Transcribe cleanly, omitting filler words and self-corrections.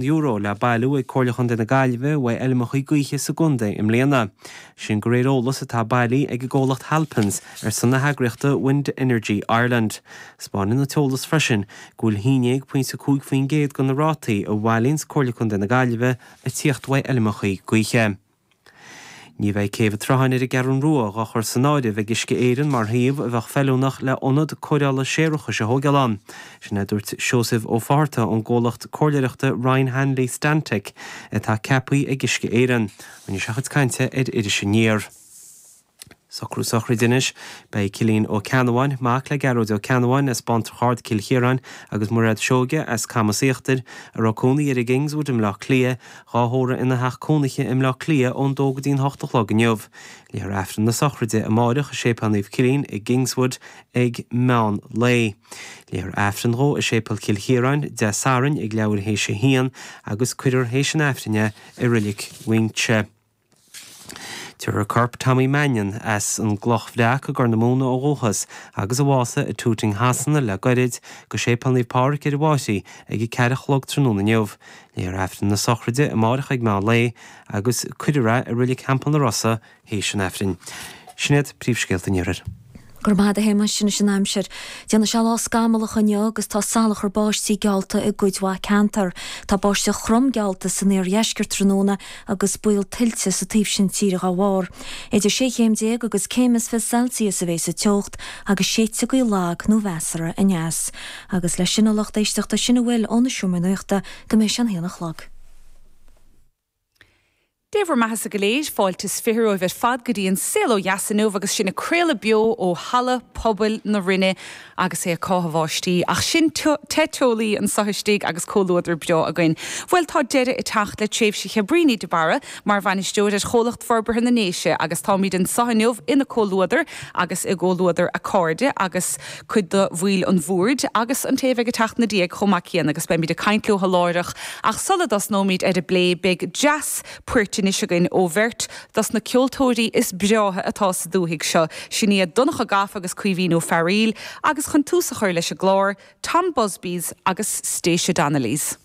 Le bailiú ag Comhairle Chontae na Gaillimhe uaidh fheilmeachaí gaoithe sa gcontae i mbliana. Sin de réir eolas atá bailithe ag an gcomhlacht Halpins ar son na heagraíochta Wind Energy Ireland. Spáineann an t-eolas freisin go bhfuil 11.5% de na rátaí a bhailíonns Comhairle Contae na Gaillimhe ag tíocht uaidh fheilmeachaí gaoithe. Ní bheidh Céibh an tSrutháin ar an gCeathrún Rua dhá chur san áireamh ag Uisce Éireann mar shuíomh a bheadh feiliúnach le ionad cóireála séarachais a thóigeáil ann. Sin é a dúirt Seosamh Ó Fátharta ón gcomhlacht comhairleoireachta Ryan Hanley Stantec atá ceaptha ag Uisce Éireann. Rinne sé a chuid cainte ar Iris Aniar. Socrú sochraide anois. Beidh Cillian Ó Ceannabháin, mac le Gearóid Ó Ceannabháin as Bántrach Ard, Cill Chiaráin, agus Mairéad Seoige as Camas Íochtair, a raibh cónaí air i gKingswood i mBleá Cliath, dhá thórramh ina theach cónaithe i mBleá Cliath ón dó go dtí an hocht a chlog inniu. Léifear Aifreann na sochraide amáireach i Séipéal Naomh Cillian i gKingswood ag meán lae. Léifear Aifreann dhó i Séipéal Chill Chiaráin Dé Sathairn ag leathuair théis a haon agus cuirfear théis an Aifrinn é i Reilig Mhuinseo. Tabharfar corp Tommy Mannion, as an gCloch Bhreac i gCorr na Móna ó dhúchas, agus a bhásaigh i Tooting Shasana le goirid, go Séipéal Naomh Pádraig ar an bhFairche ag a 4 a chlog tráthnóna inniu. Léifear Aifreann na sochraide amárach ag meán lae agus cuirfear é i Reilig Theampall na Rosa théis an Aifrinn. Sin iad príomhscéalta an Iarthair. Go raibh maith agat a Shéamais, anois an aimsir. Déanfaidh sé lá scamallach inniu agus tá salachar báistí geallta i gcuid mhaith ceantar. Tá báisteach throm geallta san iardheisceart tráthnóna agus baol tuilte sa taobh sin tíre dá bharr. Idir 16 chéim agus céim is 20 Celsius a bheas an teocht agus séidfidh gaoth lag nó mheasartha aneas. Agus leis sin a lucht éisteachta sin a bhfuil ó na Seomraí Nuachta go mbeidh sé an haon a chlog. Dé bhur mbeathasa go léir, fáilte is fiche romhaibh ar fad go dtí an Saol Ó Dheas inniu agus sinn ag craoladh beo ó Halla Pobail na Rinne agus é ag cáitheadh bháistí. Ach sinn te teolaí anso istigh agus comhluadar breá againn. Bhuel, tá deireadh ag teacht le tréimhse Chabríní de Barra mar bhainisteoir ar Chomhlacht Forbartha na nDéise agus táimid anso inniu ina comhluadar agus i gcomhluadar a cairde agus cuid de bhaill an bhoird agus an té a bheidh ag teacht ina diaidh chomh maith céanna agus beimid ag caint leo láithreach ach sula dtosnóimid ar an bplé beidh dreas poirt anois againn ó bheirt dos na ceoltóirí is breátha atá sa dúthaigh seo, sin iad Donncha Gafa agus Caoimhín Ó Fearaíl agus chun tús a chur leis an gclár, Tom Busby's agus Stacia Donnelly's.